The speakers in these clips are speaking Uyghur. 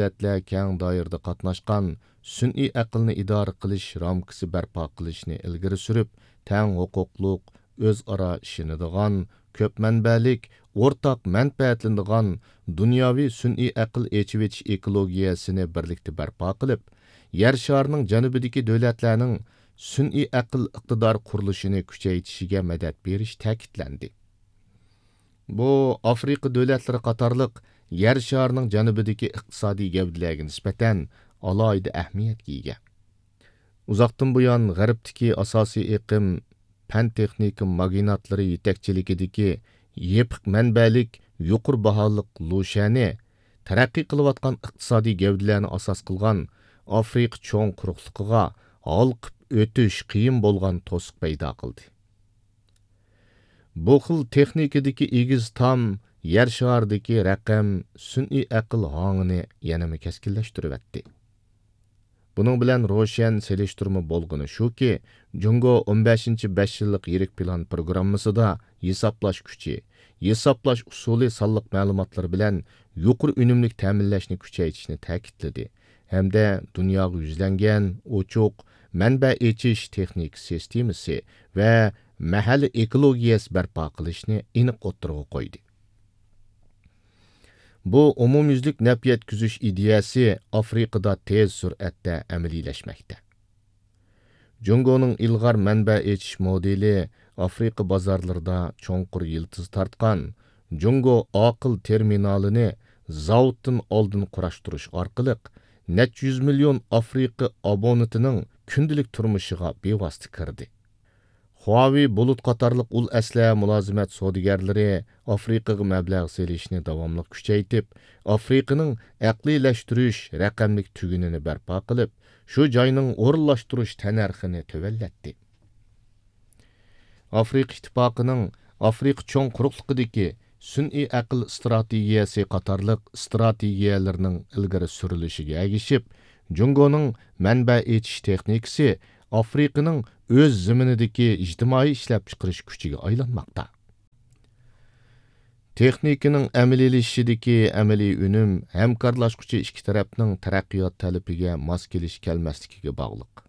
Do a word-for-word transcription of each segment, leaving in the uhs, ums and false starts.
دۆلەتلەر كەڭ دائىرىدە قاتناشقان سۈنئىي ئەقىلنى ئىدارە قىلىش رامكىسى بەرپا قىلىشنى ئىلگىرى سۈرۈپ، تەڭ ھوقۇقلۇق، ئۆزئارا ئىشىنىدىغان، كۆپ مەنبەلىك، ئورتاق مەنپەئەتلىنىدىغان دۇنياۋى سۈنئىي ئەقىل ئېچىۋېتىش ئېكولوگىيەسىنى بىرلىكتە بەرپا قىلىپ، يەر شارىنىڭ جەنۇبىدىكى دۆلەتلەرنىڭ سۈنئىي ئەقىل ئىقتىدار قۇرۇلۇشىنى كۈچەيتىشىگە مەدەت بېرىش تەكىتلەندى. بۇ ئافرىقا دۆلەتلىرى قاتارلىق يەر شارىنىڭ جەنۇبىدىكى ئىقتىسادىي گەۋدىلەرگە نىسبەتەن ئالاھىدە ئەھمىيەتكە ئىگە. ئۇزاقتىن بۇيان غەربتىكى ئاساسىي ئېقىم پەن-تېخنىكا ماگناتلىرى يېتەكچىلىكىدىكى يېپىق مەنبەلىك، يۇقىرى باھالىق لۇشيەنى تەرەققىي قىلىۋاتقان ئىقتىسادىي گەۋدىلەرنى ئاساس قىلغان ئافرىقا چوڭ قۇرۇقلۇقىغا ھالقىپ ئۆتۈش قىيىن بولغان توسۇق پەيدا قىلدى. بۇ خىل تېخنىكىدىكى ئېگىز تام يەر شارىدىكى رەقەم سۈنئىي ئەقىل ھاڭىنى يەنىمۇ كەسكىنلەشتۈرۈۋەتتى. بۇنىڭ بىلەن روشەن سېلىشتۇرما بولغىنى شۇكى، جۇڭگو ئون بەشىنچى بەش يىللىق يىرىك پىلان پروگراممىسىدا ھېسابلاش كۈچى، ھېسابلاش ئۇسۇلى سانلىق مەلۇماتلىرى بىلەن يۇقىرى ئۈنۈملۈك تەمىنلەشنى كۈچەيتىشنى تەكىتلىدى ھەمدە دۇنياغا يۈزلەنگەن، ئوچۇق، مەنبە ئېچىش تېخنىكا سىستېمىسى ۋە مەھەللە ئېكولوگىيەسى بەرپا قىلىشنى ئېنىق ئوتتۇرىغا قويدى. بۇ ئومۇميۈزلۈك نەپ يەتكۈزۈش ئىدىيەسى ئافرىقىدا تېز سۈرئەتتە ئەمەلىيلەشمەكتە. جۇڭگونىڭ ئىلغار مەنبە ئېچىش مودېلى ئافرىقا بازارلىرىدا چوڭقۇر يىلتىز تارتقان جۇڭگو ئاقىل تېرمىنالىنى زاۋۇتتىن ئالدىن قۇراشتۇرۇش ئارقىلىق نەچچە يۈز مىليون ئافرىقا ئابونېنتىنىڭ كۈندىلىك تۇرمۇشىغا بىۋاسىتە كىردى. خۇاۋېي بۇلۇت قاتارلىق ئۇل ئەسلىھە مۇلازىمەت سودىگەرلىرى ئافرىقىغا مەبلەغ سېلىشنى داۋاملىق كۈچەيتىپ، ئافرىقىنىڭ ئەقلىيلەشتۈرۈش رەقەملىك تۈگۈنىنى بەرپا قىلىپ، شۇ جاينىڭ ئورۇنلاشتۇرۇش تەننەرخىنى تۆۋەنلەتتى. ئافرىقا ئىتتىپاقىنىڭ ئافرىقا چوڭ قۇرۇقلۇقىدىكى سۈنئىي ئەقىل ئىستراتېگىيەسى قاتارلىق ئىستراتېگىيەلىرىنىڭ ئىلگىرى سۈرۈلۈشىگە ئەگىشىپ، جۇڭگونىڭ مەنبە ئېچىش تېخنىكىسى ئافرىقىنىڭ ئۆز زېمىنىدىكى ئىجتىمائىي ئىشلەپچىقىرىش كۈچىگە ئايلانماقتا. تېخنىكىنىڭ ئەمەلىيلىشىشىدىكى ئەمەلىي ئۈنۈم ھەمكارلاشقۇچى ئىككى تەرەپنىڭ تەرەققىيات تەلىپىگە ماس كېلىش كەلمەسلىكىگە باغلىق.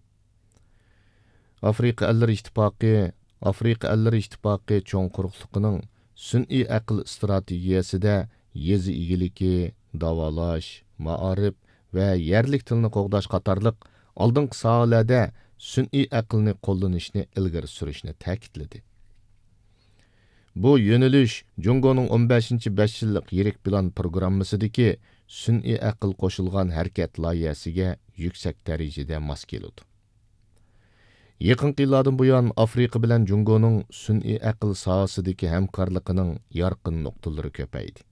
ئافرىقا ئەللىرى ئىتتىپاقى، ئافرىقا ئەللىرى ئىتتىپاقى چوڭ قۇرۇقلۇقىنىڭ سۈنئىي ئەقىل ئىستراتېگىيەسىدە يېزا ئىگىلىكى، داۋالاش، مائارىپ ۋە يەرلىك تىلنى قوغداش قاتارلىق ئالدىنقى ساھەلەردە سۈنئىي ئەقىلنى قوللىنىشنى ئىلگىرى سۈرۈشنى تەكىتلىدى. بۇ يۆنىلىش جۇڭگونىڭ ئون بەشىنچى بەش يىللىق يىرىك پىلان پروگراممىسىدىكى سۈنئىي ئەقىل قوشۇلغان ھەرىكەت لايىھەسىگە يۈكسەك دەرىجىدە ماس كېلىدۇ. يېقىنقى يىللاردىن بۇيان، ئافرىقا بىلەن جۇڭگونىڭ سۈنئىي ئەقىل ساھەسىدىكى ھەمكارلىقىنىڭ يارقىن نۇقتىلىرى كۆپەيدى.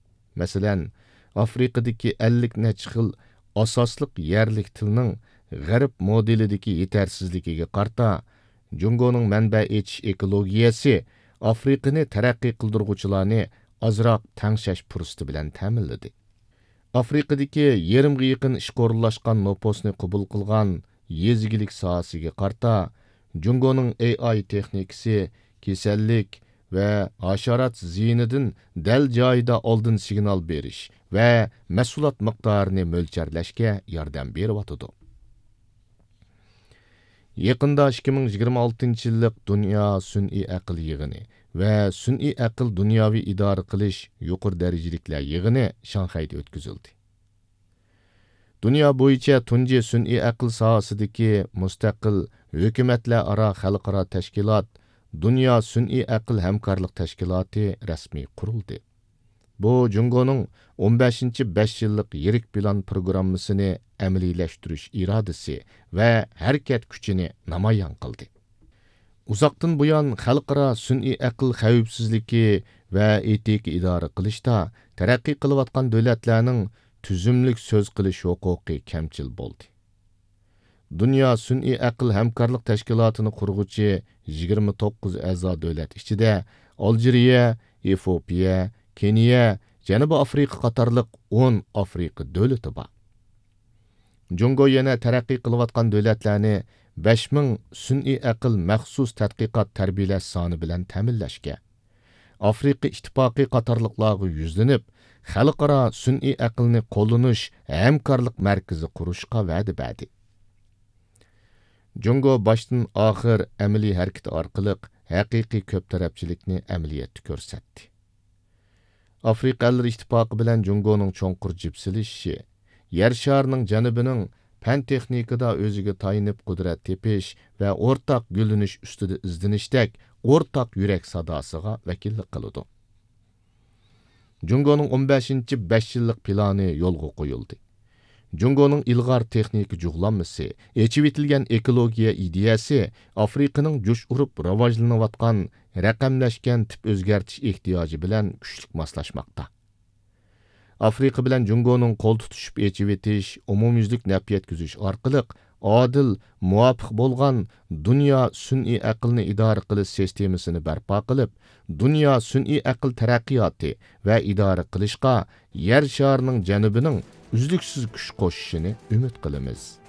مەسىلەن، ئافرىقىدىكى ئەللىك نەچچە خىل ئاساسلىق يەرلىك تىلنىڭ غەرب مودېلىدىكى يېتەرسىزلىكىگە قارىتا، جۇڭگونىڭ مەنبە ئېچىش ئېكولوگىيەسى ئافرىقىنى تەرەققىي قىلدۇرغۇچىلارنى ئازراق تەڭشەش پۇرسىتى بىلەن تەمىنلىدى. ئافرىقىدىكى يېرىمغا يېقىن ئىشقا ئورۇنلاشقان نوپۇسنى قوبۇل قىلغان يېزا ئىگىلىك ساھەسىگە قارىتا، جۇڭگونىڭ ئېي ئاي تېخنىكىسى كېسەللىك ۋە ھاشارات زىيىنىدىن دەل جايىدا ئالدىن سىگنال بېرىش ۋە مەھسۇلات مىقدارىنى مۆلچەرلەشكە ياردەم بېرىۋاتىدۇ. يېقىندا ئىككى مىڭ يىگىرمە ئالتىنچى يىللىق دۇنيا سۈنئىي ئەقىل يىغىنى ۋە سۈنئىي ئەقىل دۇنياۋى ئىدارە قىلىش يۇقىرى دەرىجىلىكلەر يىغىنى شاڭخەيدە ئۆتكۈزۈلدى. دۇنيا بويىچە تۇنجى سۈنئىي ئەقىل ساھەسىدىكى مۇستەقىل ھۆكۈمەتلەر ئارا خەلقئارا تەشكىلات، دۇنيا سۈنئىي ئەقىل ھەمكارلىق تەشكىلاتى رەسمىي قۇرۇلدى. بۇ جۇڭگونىڭ ئون بەشىنچى بەش يىللىق يىرىك پىلان پروگراممىسىنى ئەمەلىيلەشتۈرۈش ئىرادىسى ۋە ھەرىكەت كۈچىنى نامايان قىلدى. ئۇزاقتىن بۇيان خەلقئارا سۈنئىي ئەقىل خەۋپسىزلىكى ۋە ئېتىكا ئىدارە قىلىشتا تەرەققىي قىلىۋاتقان دۆلەتلەرنىڭ تۈزۈملۈك سۆز قىلىش ھوقۇقى كەمچىل بولدى. دۇنيا سۈنئىي ئەقىل ھەمكارلىق تەشكىلاتىنى قۇرغۇچى يىگىرمە توققۇز ئەزا دۆلەت ئىچىدە ئالجىرىيە، ئېفىئوپىيە، كېنىيە، جەنۇبىي ئافرىقا قاتارلىق ئون ئافرىقا دۆلىتى بار. جۇڭگو يەنە تەرەققىي قىلىۋاتقان دۆلەتلەرنى بەش مىڭ سۈنئىي ئەقىل مەخسۇس تەتقىقات تەربىيەلەش سانى بىلەن تەمىنلەشكە، ئافرىقا ئىتتىپاقى قاتارلىقلارغا يۈزلىنىپ، خەلقئارا سۈنئىي ئەقىلنى قوللىنىش ھەمكارلىق مەركىزى قۇرۇشقا ۋەدە بەردى. جۇڭگو باشتىن ئاخىر ئەمەلىي ھەرىكىتى ئارقىلىق ھەقىقىي كۆپ تەرەپچىلىكنى ئەمەلىيەتتە كۆرسەتتى. ئافرىقا ئەللىرى ئىتتىپاقى بىلەن جۇڭگونىڭ چوڭقۇر جىپسىلىشىشى، يەر شارىنىڭ جەنۇبىنىڭ پەن تېخنىكىدا ئۆزىگە تايىنىپ قۇدرەت تېپىش ۋە ئورتاق گۈللىنىش ئۈستىدە ئىزدىنىشتەك ئورتاق يۈرەك ساداسىغا ۋەكىللىك قىلىدۇ. جۇڭگونىڭ ئون بەشىنچى بەش يىللىق پىلانى يولغا قويۇلدى. جۇڭگونىڭ ئىلغار تېخنىكا جۇغلانمىسى، ئېچىۋېتىلگەن ئېكولوگىيە ئىدىيەسى ئافرىقىنىڭ جۇش ئۇرۇپ راۋاجلىنىۋاتقان رەقەملەشكەن تىپ ئۆزگەرتىش ئېھتىياجى بىلەن كۈچلۈك ماسلاشماقتا. ئافرىقا بىلەن جۇڭگونىڭ قول تۇتۇشۇپ ئېچىۋېتىش، ئومۇميۈزلۈك نەپ يەتكۈزۈش ئارقىلىق ئادىل، مۇۋاپىق بولغان دۇنيا سۈنئىي ئەقىلنى ئىدارە قىلىش سىستېمىسىنى بەرپا قىلىپ، دۇنيا سۈنئىي ئەقىل تەرەققىياتى ۋە ئىدارە قىلىشقا يەر شارىنىڭ جەنۇبىنىڭ ئۈزلۈكسىز كۈچ قوشۇشىنى ئۈمىد قىلىمىز.